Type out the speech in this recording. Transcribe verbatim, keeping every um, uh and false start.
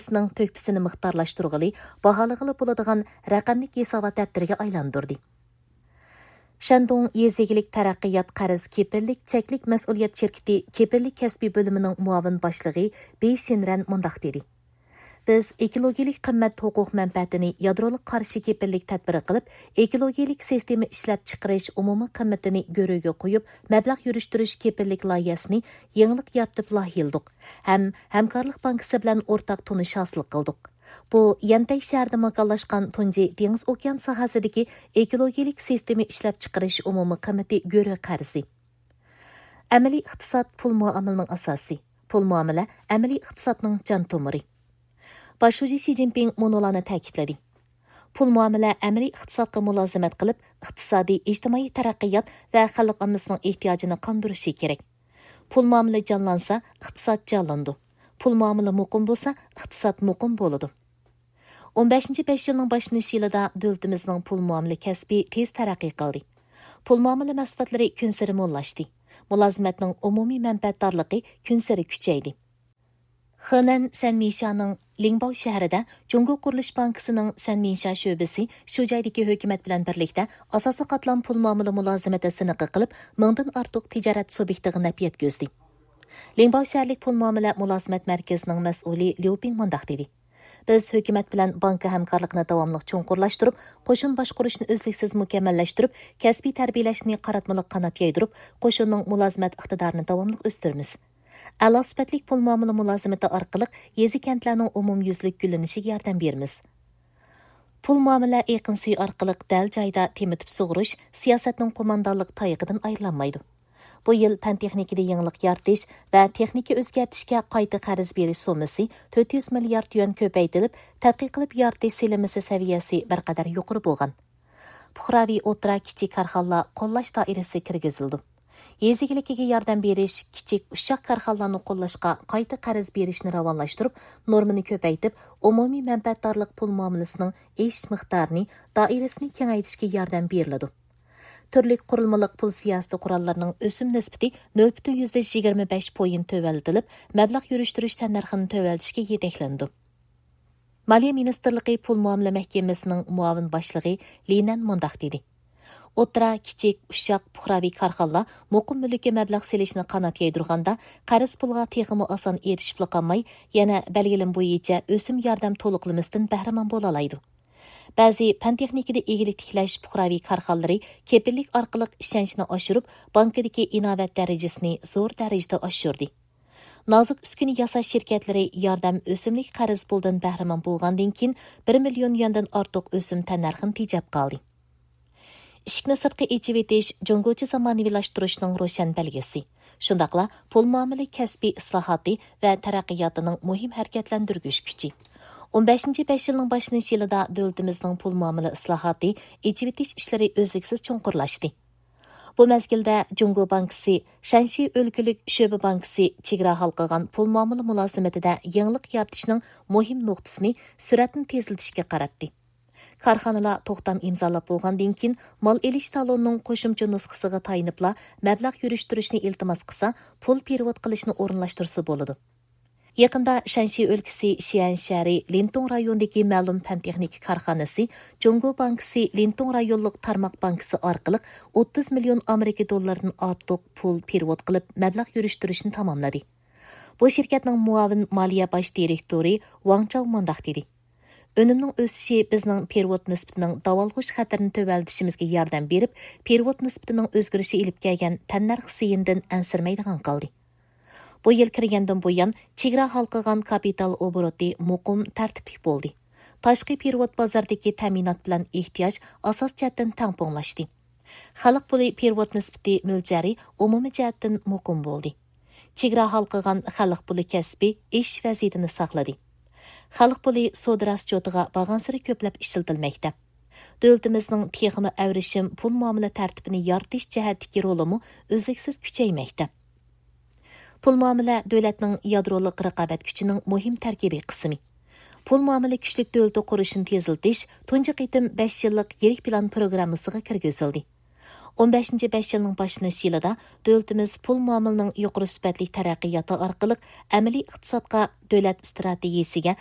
ئىقتىسادىنىڭ تۆھپىسىنى مىقدارلاشتۇرغىلى، باھالىغىلى بولىدىغان رەقەملىك ھېسابات دەپتىرىگە ئايلاندۇردى. شەندۇڭ يېزا ئىگىلىك تەرەققىيات قەرز كېپىللىك چەكلىك مەسئۇلىيەت شىركىتى كېپىللىك كەسپىي بۆلۈمىنىڭ مۇئاۋىن باشلىقى بېي شىنرەن مۇنداق دېدى: بىز ئېكولوگىيەلىك قىممەت ھوقۇق مەنپەئەتىنى يادرولۇق قارشى كېپىللىك تەدبىرى قىلىپ، ئېكولوگىيەلىك سىستېما ئىشلەپچىقىرىش ئومۇمىي قىممىتىنى گۆرۈگە قويۇپ، مەبلەغ يۈرۈشتۈرۈش كېپىللىك لايىھەسىنى يېڭىلىق يارىتىپ لايىھەلىدۇق ھەم ھەمكارلىق بانكىسى بىلەن ئورتاق تونۇش ھاسىل قىلدۇق. بۇ يەنتەي شەھىرىدە ماكانلاشقان تۇنجى دېڭىز ئوكيان ساھەسىدىكى ئېكولوگىيەلىك سىستېما ئىشلەپچىقىرىش ئومۇمىي قىممىتى گۆرۈ قەرزى. ئەمەلىي ئىقتىساد پۇل مۇئامىلىنىڭ ئاساسى. پۇل مۇئامىلە ئەمەلىي ئىقتىسادنىڭ جان تومۇرى. باش شۇجى شى جىنپىڭ مۇنۇلارنى تەكىتلىدى: پۇل مۇئامىلە ئەمەلىي ئىقتىسادقا مۇلازىمەت قىلىپ، ئىقتىسادىي، ئىجتىمائىي تەرەققىيات ۋە خەلق ئاممىسىنىڭ ئېھتىياجىنى قاندۇرۇشى كېرەك. پۇل مۇئامىلە جانلانسا، ئىقتىساد جانلىنىدۇ. پۇل مۇئامىلە مۇقىم بولسا، ئىقتىساد مۇقىم بولىدۇ. ئون بەشىنچى بەش يىلنىڭ باشلىنىش يىلىدا دۆلىتىمىزنىڭ پۇل مۇئامىلە كەسپى تېز تەرەققىي قىلدى. پۇل مۇئامىلە مەھسۇلاتلىرى كۈنسېرى موللاشتى. مۇلازىمەتنىڭ ئومۇمىي مەنپەئەتدارلىقى كۈنسېرى كۈچەيدى. خېنەن سەنمىشانىڭ لىڭباۋ شەھىرىدە جۇڭگو قۇرۇلۇش بانكىسىنىڭ سەنمىشا شۆبىسى شۇ جايدىكى ھۆكۈمەت بىلەن بىرلىكتە ئاساسىي قاتلام پۇل مۇئامىلە مۇلازىمىتى سىنىقى قىلىپ، مىڭدىن ئارتۇق تىجارەت سۇبيېكتىغا نەپ يەتكۈزدى. لىڭباۋ شەھەرلىك پۇل مۇئامىلە مۇلازىمەت مەركىزىنىڭ مەسئۇلى ليۇ پىڭ مۇنداق دېدى: بىز ھۆكۈمەت بىلەن بانكا ھەمكارلىقىنى داۋاملىق چوڭقۇرلاشتۇرۇپ، قوشۇن باشقۇرۇشنى ئۈزلۈكسىز مۇكەممەللەشتۈرۈپ، كەسپىي تەربىيەلەشنى قاراتمىلىق قانات يايدۇرۇپ، قوشۇننىڭ مۇلازىمەت ئىقتىدارىنى داۋاملىق ئۆستۈرىمىز. ئەلا سۈپەتلىك پۇل مۇئامىلە مۇلازىمىتى ئارقىلىق يېزا-كەنتلەرنىڭ ئومۇميۈزلۈك گۈللىنىشىگە ياردەم بېرىمىز. پۇل مۇئامىلە ئېقىن سۈيى ئارقىلىق دەل جايىدا تېمىتىپ سۇغۇرۇش سىياسەتنىڭ قوماندانلىق تايىقىدىن ئايرىلالمايدۇ. بۇ يىل پەن تېخنىكىدا يېڭىلىق يارىتىش ۋە تېخنىكا ئۆزگەرتىشكە قايتا قەرز بېرىش سوممىسى تۆت يۈز مىليارد يۈەن كۆپەيتىلىپ، تەتقىق قىلىپ يارىتىش سېلىنمىسى سەۋىيەسى بىر قەدەر يۇقىرى بولغان. پۇقراۋى ئوتتۇرا، كىچىك كارخانىلار قوللاش دائىرىسى كىرگۈزۈلىدۇ. يېزا ئىگىلىكىگە ياردەم بېرىش، كىچىك، ئۇششاق كارخانىلارنى قوللاشقا قايتا قەرز بېرىشنى راۋانلاشتۇرۇپ، نورمىنى كۆپەيتىپ، ئومۇمىي مەنپەئەتدارلىق پۇل مۇئامىلىسىنىڭ ئېشىش مىقدارىنى، دائىرىسىنى كېڭەيتىشكە ياردەم بېرىلىدۇ. تۈرلۈك قۇرۇلمىلىق پۇل سىياسىتى قوراللىرىنىڭ ئۆسۈم نىسبىتى نۆل پۈتۈن يۈزدە يىگىرمە بەش پوينت تۆۋەنلىتىلىپ، مەبلەغ يۈرۈشتۈرۈش تەننەرخىنى تۆۋەنلىتىشكە يېتەكلىنىدۇ. مالىيە مىنىستىرلىقى پۇل مۇئامىلە مەھكىمىسىنىڭ مۇئاۋىن باشلىقى لى نەن مۇنداق دېدى: ئوتتۇرا، كىچىك، ئۇششاق، پۇقراۋى كارخانىلار مۇقىم مۈلۈككە مەبلەغ سېلىشنى قانات يايدۇرغاندا، قەرز پۇلغا تېخىمۇ ئاسان ئېرىشىپلا قالماي، يەنە بەلگىلىمە بويىچە ئۆسۈم ياردەم تولۇقلىمىسىدىن بەھرىمەن بولالايدۇ. بەزى پەن تېخنىكىدا ئىگىلىك تىكلەش پۇقراۋى كارخانىلىرى كېپىللىك ئارقىلىق ئىشەنچنى ئاشۇرۇپ، بانكىدىكى ئىناۋەت دەرىجىسىنى زور دەرىجىدە ئاشۇردى. نازۇك ئۈسكۈنە ياساش شىركەتلىرى ياردەم ئۆسۈملۈك قەرز پۇلدىن بەھرىمەن بولغاندىن كېيىن، بىر مىليون يۈەندىن ئارتۇق ئۆسۈم تەننەرخىنى تېجەپ قالدى. ئىشىكنى سىرتقا ئېچىۋېتىش جۇڭگوچە زامانىۋىلاشتۇرۇشنىڭ روشەن بەلگىسى. شۇنداقلا پۇل مۇئامىلە كەسپىي ئىسلاھاتى ۋە تەرەققىياتىنىڭ مۇھىم ھەرىكەتلەندۈرگۈچ كۈچى. ئون بەشىنچى بەش يىلنىڭ باشلىنىش يىلىدا دۆلىتىمىزنىڭ پۇل مۇئامىلە ئىسلاھاتى، ئېچىۋېتىش ئىشلىرى ئۈزلۈكسىز چوڭقۇرلاشتى. بۇ مەزگىلدە جۇڭگو بانكىسى، شەنشى ئۆلكىلىك شۆبە بانكىسى چېگرا ھالقىغان پۇل مۇئامىلە مۇلازىمىتىدە يېڭىلىق يارىتىشنىڭ مۇھىم نۇقتىسىنى سۈرئەتنى تېزلىتىشكە قاراتتى. كارخانىلار توختام ئىمزالاپ بولغاندىن كېيىن، مال ئېلىش تالونىنىڭ قوشۇمچە نۇسخىسىغا تايىنىپلا مەبلەغ يۈرۈشتۈرۈشنى ئىلتىماس قىلسا، پۇل پېرېۋوت قىلىشنى ئورۇنلاشتۇرسا بولىدۇ. يېقىندا شەنشى ئۆلكىسى شيەن شەھىرى لىنتۇڭ رايونىدىكى مەلۇم پەن تېخنىكا كارخانىسى جۇڭگو بانكىسى لىنتۇڭ رايونلۇق تارماق بانكىسى ئارقىلىق ئوتتۇز مىليون ئامېرىكا دوللىرىدىن ئارتۇق پۇل پېرېۋوت قىلىپ مەبلەغ يۈرۈشتۈرۈشنى تاماملىدى. بۇ شىركەتنىڭ مۇئاۋىن مالىيە باش دىرېكتورى ۋاڭ چاۋ مۇنداق دېدى: ئۈنۈمنىڭ ئۆسۈشى بىزنىڭ پېرېۋوت نىسبىتىنىڭ داۋالغۇش خەتىرىنى تۆۋەنلىتىشىمىزگە ياردەم بېرىپ، پېرېۋوت نىسبىتىنىڭ ئۆزگىرىشى ئېلىپ كەلگەن تەننەرخ زىيىنىدىن ئەنسىرىمەيدىغان قىلدى. بۇ يىل كىرگەندىن بۇيان، چېگرا ھالقىغان كاپىتال ئوبوروتى مۇقىم، تەرتىپلىك بولدى. تاشقى پېرېۋوت بازاردىكى تەمىنات بىلەن ئېھتىياج ئاساس جەھەتتىن تەڭپۇڭلاشتى. خەلق پۇلى پېرېۋوت نىسبىتى مۆلچەرى ئومۇمىي جەھەتتىن مۇقىم بولدى. چېگرا ھالقىغان خەلق پۇلى كەسپى ئېشىش ۋەزىيىتىنى ساقلىدى. خەلق پۇلى سودا راسچوتىغا بارغانسېرى كۆپلەپ ئىشلىتىلمەكتە. دۆلىتىمىزنىڭ تېخىمۇ ئەۋرىشىم پۇل مۇئامىلە تەرتىپىنى يارىتىش جەھەتتىكى رولىمۇ ئۈزلۈكسىز كۈچەيمەكتە. پۇل مۇئامىلە دۆلەتنىڭ يادرولۇق رىقابەت كۈچىنىڭ مۇھىم تەركىبىي قىسمى. پۇل مۇئامىلە كۈچلۈك دۆلىتى قۇرۇشنى تېزلىتىش تۇنجى قېتىم بەش يىللىق يىرىك پىلان پروگراممىسىغا كىرگۈزۈلدى. ئون بەشىنچى بەش يىلنىڭ باشلىنىش يىلىدا دۆلىتىمىز پۇل مۇئامىلىنىڭ يۇقىرى سۈپەتلىك تەرەققىياتى ئارقىلىق ئەمەلىي ئىقتىسادقا، دۆلەت ئىستراتېگىيىسىگە،